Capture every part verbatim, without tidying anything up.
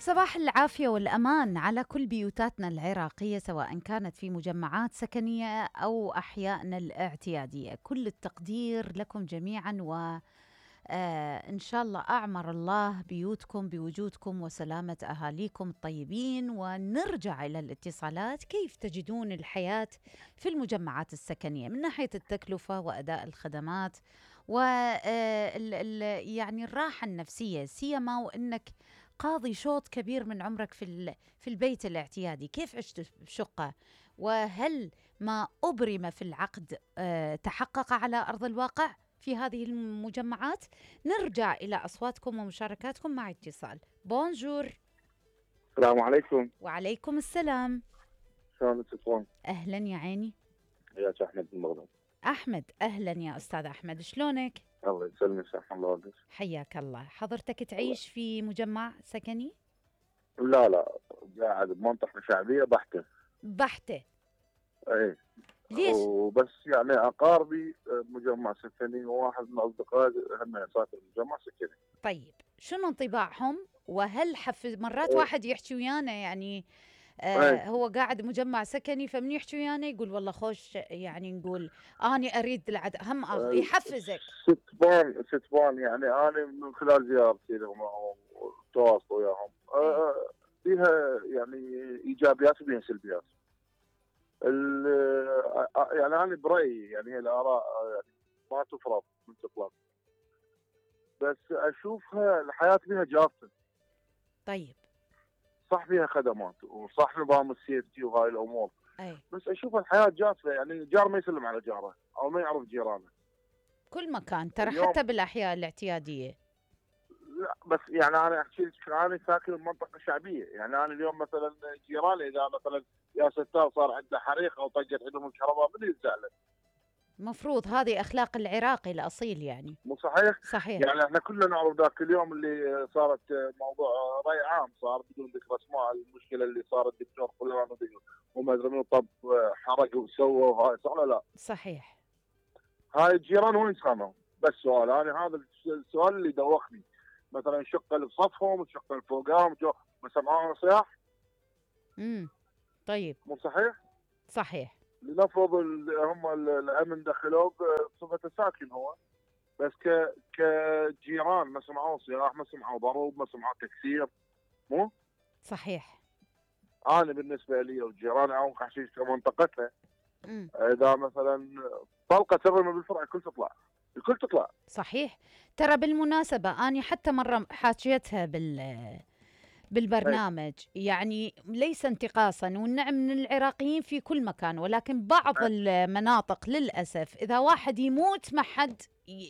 صباح العافية والأمان على كل بيوتاتنا العراقية، سواء كانت في مجمعات سكنية أو أحيائنا الاعتيادية. كل التقدير لكم جميعا، وإن شاء الله أعمر الله بيوتكم بوجودكم وسلامة أهاليكم الطيبين. ونرجع إلى الاتصالات. كيف تجدون الحياة في المجمعات السكنية من ناحية التكلفة وأداء الخدمات و يعني الراحة النفسية، سيما وأنك قاضي شوط كبير من عمرك في في البيت الاعتيادي؟ كيف عشت بشقة؟ وهل ما أبرم في العقد أه تحقق على أرض الواقع في هذه المجمعات؟ نرجع إلى أصواتكم ومشاركاتكم مع اتصال. بونجور. السلام عليكم. وعليكم السلام. شلونك تكون؟ أهلا يا عيني. يا أحمد من بغداد. أحمد، أهلا يا أستاذ أحمد، شلونك؟ الله يسلمك، سلام الله عليك. حياك الله. حضرتك تعيش في مجمع سكني؟ لا لا، قاعد بمنطقة شعبية بحتة. بحتة؟ ايه. ليش؟ وبس يعني أقاربي مجمع سكني، وواحد من أصدقائي هم ساكن مجمع سكني. طيب شنو انطباعهم؟ وهل حفز مرات أيه. واحد يحكي ويانا يعني آه أيه. هو قاعد مجمع سكني، فمن يحكي ويانا يقول والله خوش، يعني نقول اني اريد العد هم أغ... يحفزك. ستبان ستبان يعني انا من خلال زيارتي لهم والتواصل وياهم أه فيها يعني ايجابيات وفيها سلبيات. يعني انا برايي يعني هي الاراء يعني ما تفرض من تطلق، بس اشوفها الحياه فيها جافه. طيب صح فيها خدمات وصح نظام السيفتي وهاي الامور، أي. بس اشوف الحياه جافه. يعني الجار ما يسلم على جاره او ما يعرف جيرانه. كل مكان ترى، حتى بالاحياء الاعتياديه. لا بس يعني انا احكي لك، انا ساكن بمنطقه شعبيه، يعني انا اليوم مثلا جيراني اذا مثلا يا ستار صار عنده حريق او طقت عندهم الكهرباء من يزعل؟ مفروض هذه اخلاق العراقي الاصيل يعني. مو صحيح؟ صحيح. يعني احنا كلنا نعرف ذاك اليوم اللي صارت موضوع راي عام صار بدون ذكر اسماء، المشكله اللي صارت الدكتور فلان وما ادري منو طب حرق وسوى وهاي، صح ولا لا؟ صحيح. هاي الجيران وين كانوا؟ بس سؤال، انا هذا السؤال اللي دوخني. مثلا الشقه اللي بصفهم، الشقه اللي فوقهم، ما سمعوها صياح؟ امم طيب. مو صحيح؟ صحيح. لنفرض هم الامن دخلوه بصفه ساكن هو، بس ك كجيران ما سمعوا صياح، ما سمعوا ضرب، ما سمعوا تكسير. مو صحيح. انا بالنسبه لي والجيران او حشيش في منطقتنا، امم اذا مثلا طلقه ترمى بالفرع الكل تطلع، الكل تطلع. صحيح. ترى بالمناسبه اني حتى مره حاكيتها بال بالبرنامج، يعني ليس انتقاصا، والنعم من العراقيين في كل مكان، ولكن بعض المناطق للأسف إذا واحد يموت ما حد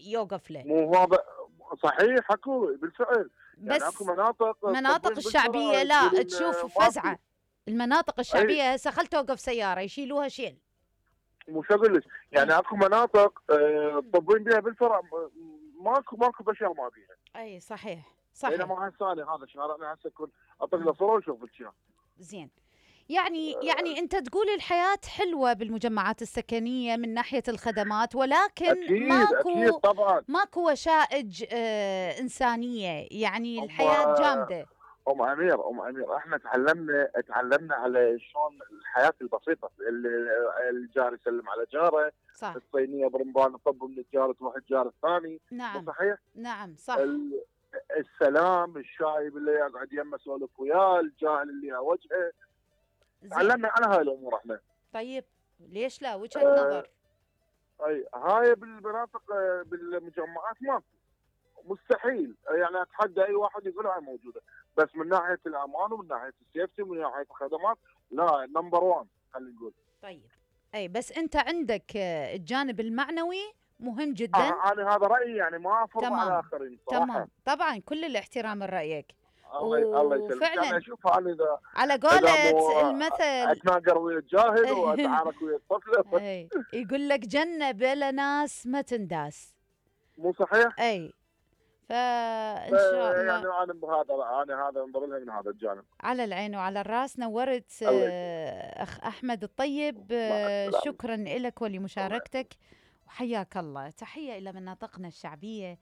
يوقف له. مو هذا صحيح، اكو بالفعل. بس يعني اكو مناطق مناطق الشعبية لا تشوف فزعة. المناطق الشعبية هسه خل توقف سيارة يشيلوها شيل. مو شو اقول لك، يعني اكو مناطق تطبين بها بالفرع ماكو ماكو بشر ما بيها. اي صحيح صحيح. بينما هسه هذا شارعنا هسه يكون اطق له صوره وشوف الشارع. زين. يعني يعني انت تقول الحياه حلوه بالمجمعات السكنيه من ناحيه الخدمات، ولكن أكيد ماكو أكيد طبعا ماكو وشائج آه انسانيه، يعني الحياه جامده. ام امير ام امير احنا تعلمنا تعلمنا على شلون الحياه البسيطه، الجار يسلم على جاره، صح. الصينيه برمضان طب من الجار تروح الجار الثاني. نعم صحيح. نعم صح. السلام، الشايب اللي يقعد يمه سولف وياه، الجاهل اللي وجهه. تعلمنا على هاي الامور احنا. طيب ليش لا؟ وجهه آه نظر. اي هاي بالمناطق بالمجمعات ماكو، مستحيل. يعني اتحدى اي واحد يقول هاي موجوده، بس من ناحيه الامان ومن ناحيه السيفتي ومن ناحيه الخدمات لا، نمبر واحد خلينا نقول. طيب اي بس انت عندك الجانب المعنوي مهم جدا. آه انا هذا رايي، يعني ما افرض على الاخرين صراحه. تمام طبعا، كل الاحترام لرايك. الله الله يسلمك. فعلا اشوف انا اذا على قولة المثل اتناقر ويا الجاهل واتعارك ويا الطفله. اي يقول لك جنه بلا ناس ما تنداس. مو صحيح؟ اي فان شاء الله. يعني انا بهذا انا هذا انظر لها من هذا الجانب. على العين وعلى الراس. نورت اخ احمد الطيب، شكرا لك ولمشاركتك وحياك الله. تحيه الى مناطقنا الشعبيه،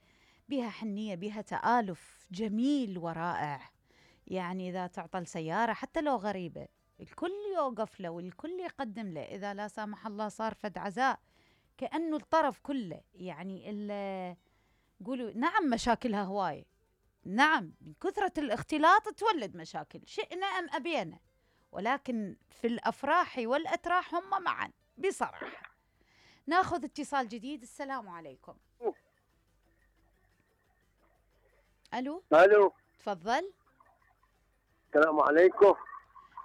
بها حنيه، بها تآلف جميل ورائع. يعني إذا تعطل سيارة حتى لو غريبة الكل يوقف له والكل يقدم له. إذا لا سامح الله صار فد عزاء كأنه الطرف كله يعني ال- قولوا نعم مشاكلها هواية. نعم من كثرة الاختلاط تولد مشاكل شئنا أم أبينا، ولكن في الأفراح والأتراح هم معا بصراحة. ناخذ اتصال جديد. السلام عليكم. ألو. الو. تفضل. السلام عليكم.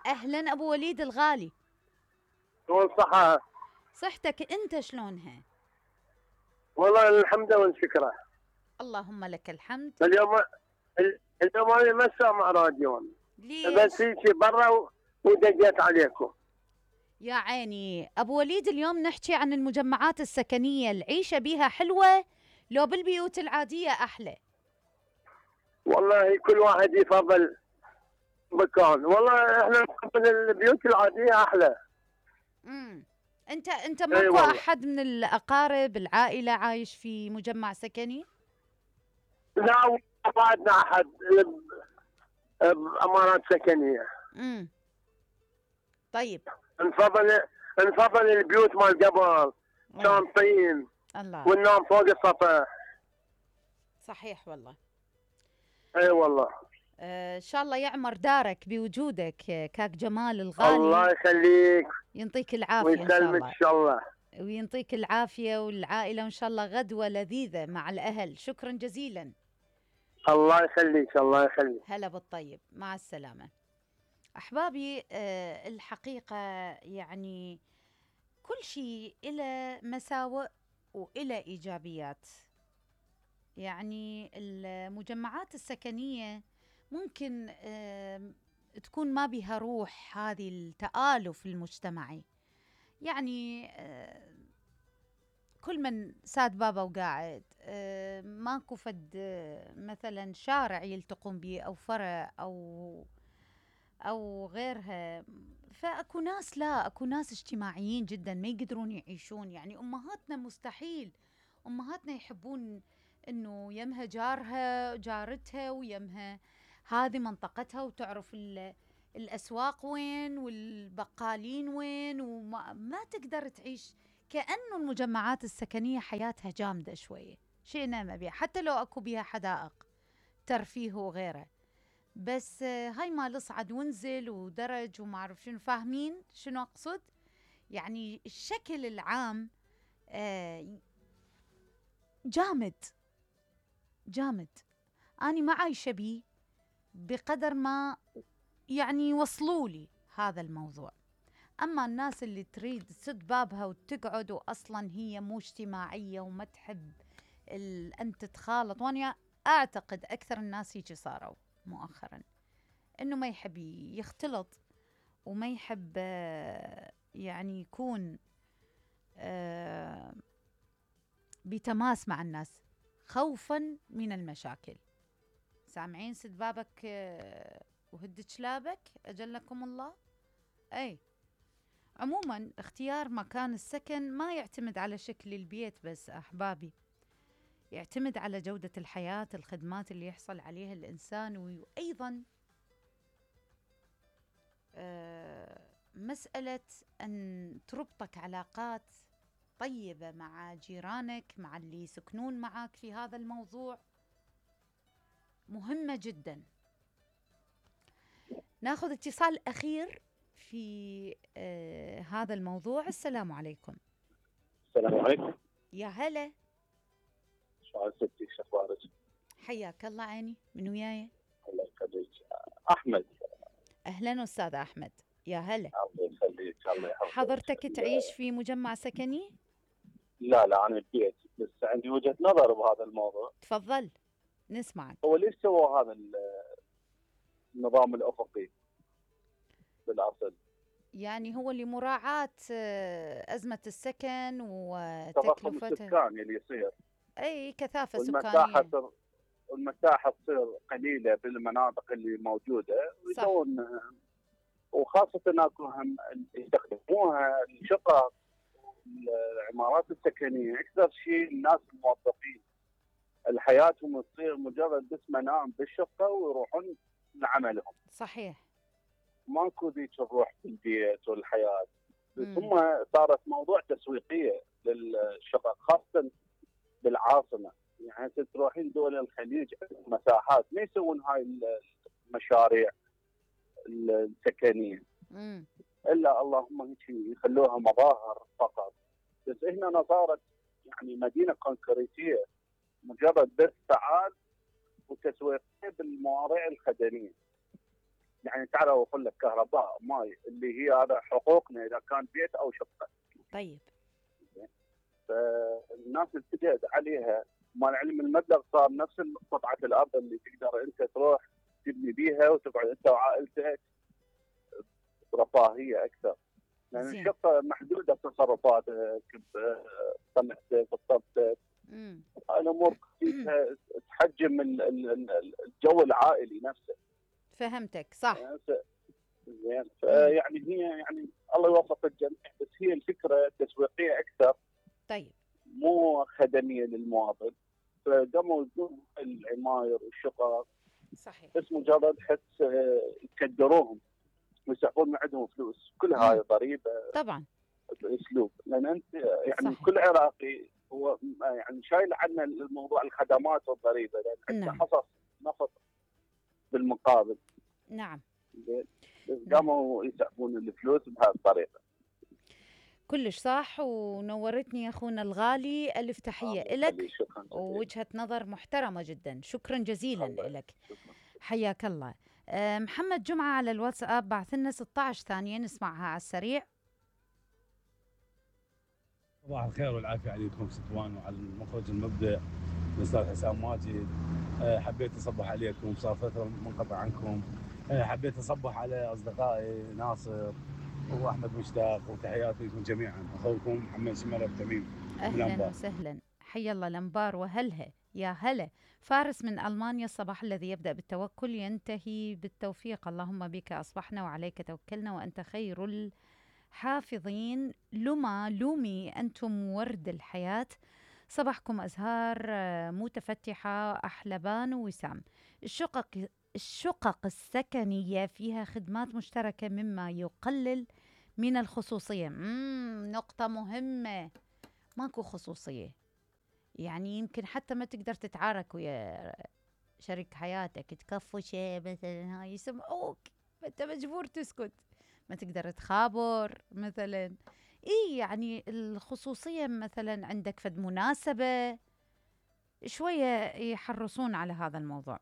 أهلا أبو وليد الغالي. شلون صحة؟ صحتك أنت شلونها؟ والله الحمد والشكر. اللهم لك الحمد. اليوم اليوم انا ما سامع راديو، ليش؟ بس هيك برا و- ودقيت عليكم. يا عيني أبو وليد، اليوم نحكي عن المجمعات السكنية، العيشة بيها حلوة لو بالبيوت العادية أحلى؟ والله كل واحد يفضل مكان، والله احنا نفضل البيوت العادية احلى. امم أنت أنت اي ماكو والله. أحد من الأقارب العائلة عايش في مجمع سكني؟ لا ما عندنا احد ب- بامارات سكنية. امم طيب. نفضل نفضل البيوت مال قبل، كان طين الله. وننام فوق السطح. صحيح والله. اي والله. آه، ان شاء الله يعمر دارك بوجودك آه، كاك جمال الغالي. الله يخليك يعطيك العافيه ان شاء ويسلمك الله. ان شاء الله. ويعطيك العافيه والعائله وان شاء الله غدوه لذيذه مع الاهل. شكرا جزيلا. الله يخليك الله يخليك. هلا بالطيب، مع السلامه. احبابي، آه، الحقيقه يعني كل شيء له مساوئ وإلى ايجابيات. يعني المجمعات السكنيه ممكن آم، تكون ما بها روح هذه التآلف المجتمعي. يعني آه، كل من ساد بابا وقاعد، آه، ماكو فد آه، مثلا شارع يلتقون به أو فرع أو أو غيرها. فأكو ناس، لا أكو ناس اجتماعيين جدا ما يقدرون يعيشون. يعني أمهاتنا مستحيل، أمهاتنا يحبون إنه يمها جارها جارتها ويمها هذه منطقتها وتعرف ال- الأسواق وين والبقالين وين، وما ما تقدر تعيش. كأنه المجمعات السكنية حياتها جامدة شوية، شئنا ما بيها، حتى لو أكو بيها حدائق ترفيه وغيره. بس آه، هاي مال اصعد وانزل ودرج وما أعرف شنو. فاهمين شنو أقصد؟ يعني الشكل العام آه، جامد جامد. أنا ما عايشة بيه بقدر ما يعني وصلوا لي هذا الموضوع. أما الناس اللي تريد تسد بابها وتقعد وأصلا هي مو اجتماعية وما تحب ال- أن تتخالط، وأنا أعتقد أكثر الناس هيك صاروا مؤخرا، إنه ما يحب يختلط وما يحب آه، يعني يكون آه، بتماس مع الناس خوفا من المشاكل. سامعين سد بابك آه، وهد شلابك أجلكم الله. أي عموما اختيار مكان السكن ما يعتمد على شكل البيت بس أحبابي، يعتمد على جودة الحياة، الخدمات اللي يحصل عليها الإنسان، وأيضا آه، مسألة أن تربطك علاقات طيبة مع جيرانك، مع اللي يسكنون معك في هذا الموضوع، مهمة جدا. ناخذ اتصال أخير في آه هذا الموضوع. السلام عليكم. السلام عليكم. يا هلا. شو ستي شو اخبارك؟ حياك الله. عيني من وياي. الله يخليك. احمد. أهلا أستاذ أحمد. يا هلا. الله يخليك الله يحفظك. حضرتك تعيش في مجمع سكني؟ لا لا انا ببيت، بس عندي وجهة نظر بهذا الموضوع. تفضل نسمعك. هو ليش سووا هذا ال- النظام الافقي بالاصل؟ يعني هو لمراعاة آه، أزمة السكن تضخم وتكلفته. السكان اللي يصير، أي كثافة والمساحة سكانية. تصير والمساحة تصير قليلة بالمناطق اللي موجودة، ويسوون وخاصة اكو هم يستخدموها الشقق، العمارات السكنية أكثر شيء الناس الموظفين، الحياتهم تصير مجرد بس منام بالشقة ويروحون لعملهم. صحيح. ماكو ذيك الروح في البيت والحياه. بس مم. هم صارت موضوع تسويقيه للشغل خاصه بالعاصمه. يعني هسه تروحين دول الخليج مساحات ما يسوون هاي المشاريع السكنيه، مم. الا اللهم هيك يخلوها مظاهر فقط. بس هنا صارت يعني مدينه كونكريتيه، مجرد بس فعال وتسويقيه بالمواضيع الخدميه. يعني تعال اوفر لك كهرباء، ماي، اللي هي هذا حقوقنا اذا كان بيت او شقه. طيب. فالناس اتجهت عليها، مع العلم المبلغ صار نفس قطعه الارض اللي تقدر انت تروح تبني بيها وتقعد انت وعائلتك برفاهيه اكثر. لان زين. الشقه محدوده تصرفاتك، بصنعتك، بطبتك، مم. هاي الامور فيها تحجم ال- ال- ال- الجو العائلي نفسه. فهمتك صح. يعني زين، فيعني هي يعني الله يوفق الجميع، بس هي الفكره تسويقيه اكثر، طيب. مو خدميه للمواطن. فقاموا يدون العماير والشقق صحيح. بس مجرد حس آه، يكدروهم ويسحبون من عندهم فلوس. كل هاي مم. ضريبه طبعا. باسلوب، لان انت يعني صحيح. كل عراقي هو يعني شايل عنا الموضوع الخدمات والضريبه، لان عندنا نعم. حصص نفط بالمقابل. نعم. زين، بس قاموا يسحبون الفلوس بهذه الطريقه. كلش صح، ونورتني يا اخونا الغالي. الف تحيه لك، شكرا جزيلا. ووجهه نظر محترمه جدا. شكرا جزيلا الله لك. شكرا. حياك الله. أه، محمد جمعه على الواتساب بعث لنا ستة عشر ثانيه نسمعها على السريع. صباح الخير والعافيه عليكم ستوان وعلى المخرج المبدع الاستاذ حسام ماجد. أه، حبيت اصبح عليكم، صار فتره منقطع عنكم. أه، حبيت اصبح على اصدقائي ناصر واحمد مشتاق، وتحياتي لكم جميعا. اخوكم محمد شماله بتميم من اهلا الانبار. وسهلا، حيا الله الانبار وهلها يا هلا. فارس من المانيا، الصباح الذي يبدا بالتوكل ينتهي بالتوفيق، اللهم بك اصبحنا وعليك توكلنا وانت خير الحافظين. لما لومي انتم ورد الحياه، صباحكم ازهار آه، متفتحه. احلبان وسام. الشقق الشقق السكنيه فيها خدمات مشتركه مما يقلل من الخصوصيه. مم نقطه مهمه، ماكو خصوصية. يعني يمكن حتى ما تقدر تتعارك ويا شريك حياتك، تكفوا شيء مثلا هاي يسمعوك، فانت مجبور تسكت، ما تقدر تخابر مثلا. اي يعني الخصوصية مثلا عندك فد مناسبة شوية يحرصون على هذا الموضوع.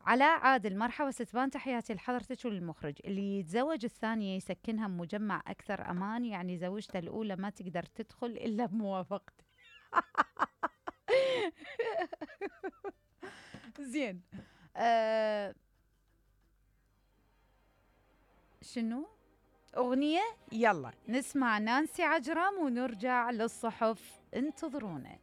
علاء عادل، مرحبا ستبان، تحياتي لحضرتك وللمخرج. اللي يتزوج الثانية يسكنها بمجمع أكثر أمان، يعني زوجته الأولى ما تقدر تدخل إلا بموافقته. زين. آه شنو؟ أغنية؟ يلا نسمع نانسي عجرم ونرجع للصحف، انتظرونا.